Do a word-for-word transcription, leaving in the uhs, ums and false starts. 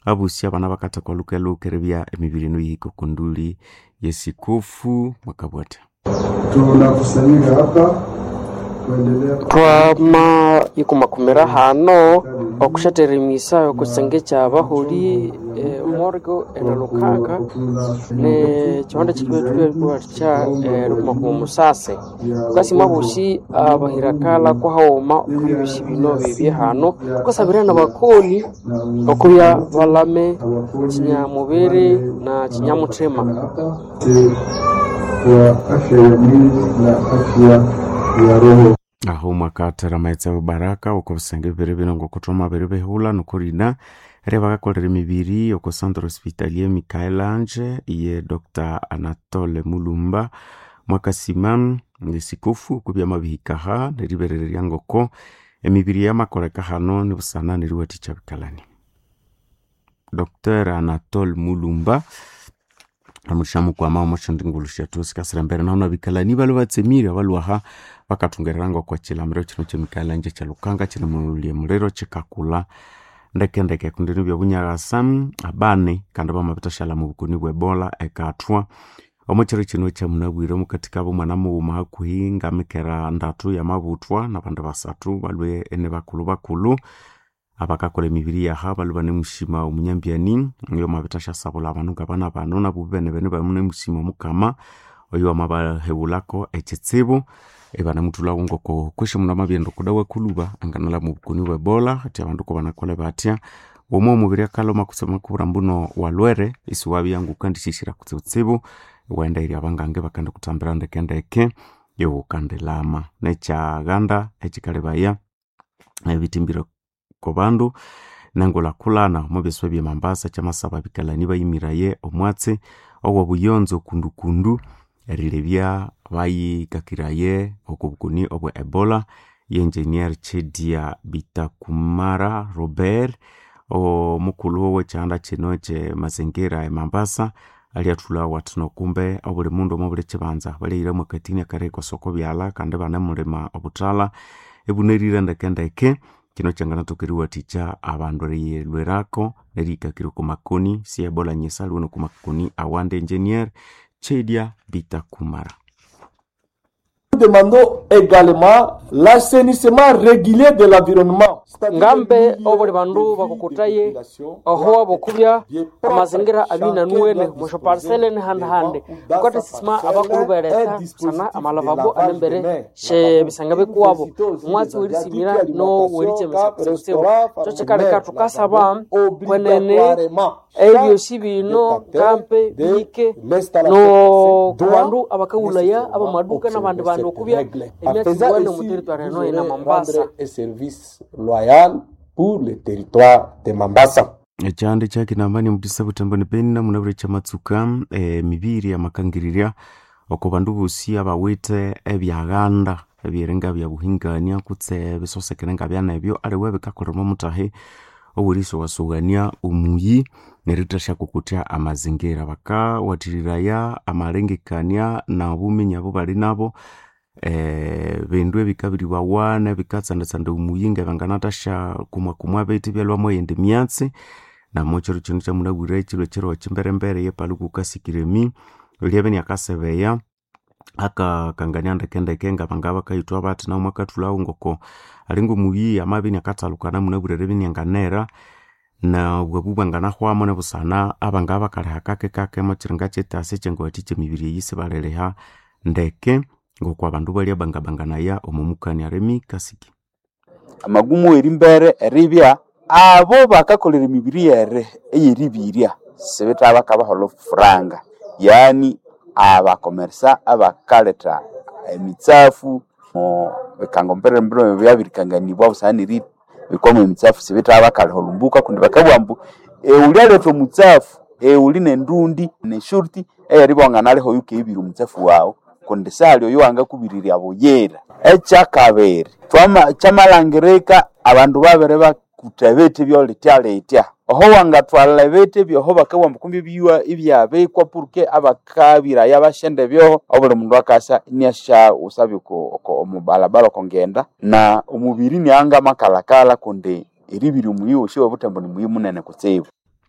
Abusi abana bakathekwa luke-luke eribya emibiri eno yihika okunduli yesikofu mwakabwatha. Tunakusanyika hapa kuendelea Twama ikumakumira hano okushathera emisa okusenge kya abaholi morgo eralukanga ne kihonda kikibethuwathikya erikumakuma omusase. Thukasima abosi abahirakala kwahaghuma okubyosi bino bibye hano. Thukasabira nabakoni okubya balame kinyamubiri na kinyamuthima. Kwa afya ya mwili na afya ya roho. Aho mwakathera amaghetse abubaraka oko bisenge bibiri bino ngokuthoma biri bihulha nokurina eri bakakolera emibiri oko Centre Hospitalier Michael Ange ye Doctor Anatole Mulumba. Mwakasima esikofu okubya amabihikaha neriberererya ngoko emibiri yamakoleka hano nibusana neriwathikya bikalani. Doctor Anatole Mulumba amusha mukwama omo syathu sikasira embere naho nabikalani balwe batsemire abalwaha bakathungerera ngoko kilamiro kino kye Michael Ange kyalukanga kinemulya muliro kikakulha ndekendeke kundi nibya bunyaghasa abane kandi bamabithashalha mubukoni bwe Ebola ekathwa. Omo kiro kino kyamunabwire omukati kabo omwana mughuma hakuhi ngamikera ndatu yamabuthwa nabandi basathu balwe inibakulhu bakulhu abakakolha emibiri yaha balwe banemushima omunyambyani oyo wamabithasyasabulha abandu ngabana bano nabo benebene banemushima omukama oyo wamabahewulhako ekitsibu ibanamuthulhawo ngoko kwesi omundu amabyaghenda oko dawa kulhuba anganalha mubukoni bwe Ebola athi abandu kubanakolha batya womwa omubiri akalhoma kutse amakubwira ambuno walhwere isiwabya ngukandisisira kutsibutsibu iwaghenda eyiri abangange bakandikuthambira ndekendeke iwukandilama. Nekyaghanda ekikalebaya ebithimbire okubandu nengulhakulhana omwabyasuba bye Mombasa kyamasaba abikalani bayimiraye omwatsi owobuyonzo kundukundu erilebya bayikakiraye okobukoni obwe Ebola. Ye engineer Chedia Bitakumara Robert omukulhu owekyihanda kino kye mazingira e Mombasa alyathulhawo athi nokumbe obuli mundu omwabuli kyibanza balyahiramu akathini akarikosa oko byalha kandi ibanemulima obuthalha ibunerire ndekendeke. Kino kyanganathoka eriwathikya abandu eriyilhwirako nerihikakira oko makoni si Ebola nyisa aliwe noko makoni awandi. Engineer Chedia Bitakumara. Demandons également l'assainissement régulier de l'environnement. Ngambe obuli bandu bakukuthaye oho abokubya amazingira abinanuwene mwasyo parcele nihandi-handi. Thukathisisima abakulhu beretha busana amalavabo anembere syebisenge bikuwabo. Omwatsi werisimira nowerikyemisya kutsibutsibu. Kyo kikaleka thukasaba kwenene ebyosi bino ngambe bihike nokubandu abakaghulhaya abamaduka nabandi bandu okubya emyatsi yuwene omu territory eno ena Mombasa. Service loyal pour le territoire de Mambasa. Ekyanda kyakinambani omukisa butembo ni Beni namunabwire kyamatsuka emibiri amakangirirya oko bandu bosi abawithe ebyaghanda ebyeringa byabuhingania kutse ebisosekene ngabyanebyo aliwe bikakolera omutahi owerisughasugania omuyi nerithasyakukuthya amazingira. Bakawathiriraya amalengekania nobuminya obubali nabo bindu ebikabiribawa nebikatsandatsanda omuyi ngebanganathasya kumwakumwa bithi ibyalhwamu eyindi myatsi. Namukyiro kino kyamunabwire kyilwe kyiro kyimberembere yepaluku kasikiremi lyabya inakasebeya akakangania ndekendeke ngabanga bakayithwa bathi nawu mwakathulhawo ngoko alinga omuyi amabya inakathalukana munabwire eribya inianganera nobwabu bwanganahwamu nibusana abanga bakaliha kakekake omwakiringa kyetasi ekyangawathikya emibiri eyi isibaliliha ndeke ngoko abandu balya bangabanganaya omwamukania. Remi Kasiki. Amagumu erimbere eribya abo bakakolera emibiri yere eyeribirya sibitha bakabaholha furanga, yani abakomersa abakaletha emitsafu omo bikango mbirembere byabirikanganibwa busana neribikwamu emitsafu sibitha bakaliha olhumbuka kundi bakabugha ambu ewuli aletha omutsafu ewuli nendundi neshurti eyeribya wanganaliha oyukeyibirya omutsafu waghu kundi sihali oyo wangakubirirya buyira. Ekyakabiri kyamalhangirika abandu babiri bakutha ebithi ebyolithya-lithya oho wangathwalha ebithi byoho bakabugha ambu kumbi ebyuwa ibyabikwa purke abakabiraya basyende byoho obuli mundu akasa iniasyawusabya omubalabala okongenda na omubiri inianga makalhakalha kundi eribirya omuyi wosi owobuthembo nimuyi munene kutsibu.